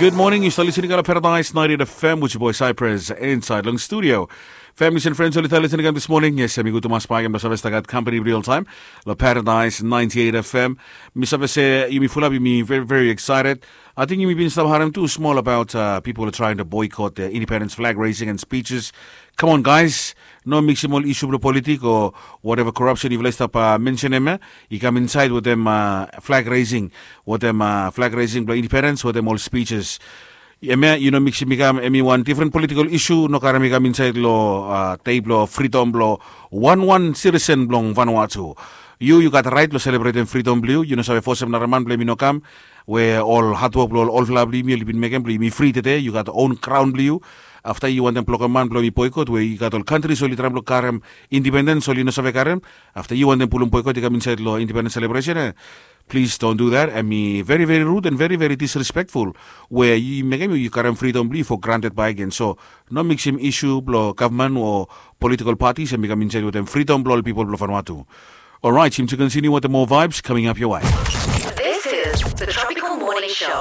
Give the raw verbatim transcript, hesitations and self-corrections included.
Good morning, yu stap listening long Paradise ninety-eight F M with your boy Cypress inside long studio. Families and friends oli stap listening this morning. Yes, mi gud tumas bakegen blong save stap gat company real time long Paradise ninety-eight F M. Mi save se yumi fulap, yumi very, very excited. I think yumi bin stap harem tu smol about uh, people are trying to boycott the independence flag raising and speeches. Come on, guys. No miksim ol isu blong politik o whatever corruption yufala i stap uh, mentionem ya. I kam inside wetem uh, flag raising, wetem uh, flag raising blong independence, wetem ol speeches. Em ya, yu no miksim i kam, em i wan different political issue, no karem i kam inside lo uh, dei blo freedom blo wan wan citizen blong Vanuatu. Yu, yu gat right lo selebretem freedom blo yu, yu no save fosem nara man blo em i no kam, we ol hard work blo ol olfala blo yumi oli bin mekem blo yumi fri tede, yu gat own crown blo yu. Afta yu wantem blokem man blo yumi boycott, we yu gat ol countries oli traem blo karem independence, oli no save karem. Afta yu wantem pulum boycott i kam inside lo independence celebration, eh? Please don't do that. Em i very, very rude and very, very disrespectful. We yu mekem yu karem freedom blo yu for granted bakegen. So no miksim issue blo government o political parties em i kam inside wetem freedom blo ol people blo Vanuatu. Alright, yumi tu continue wetem more vibes coming up your way. This is the Tropical Morning Show.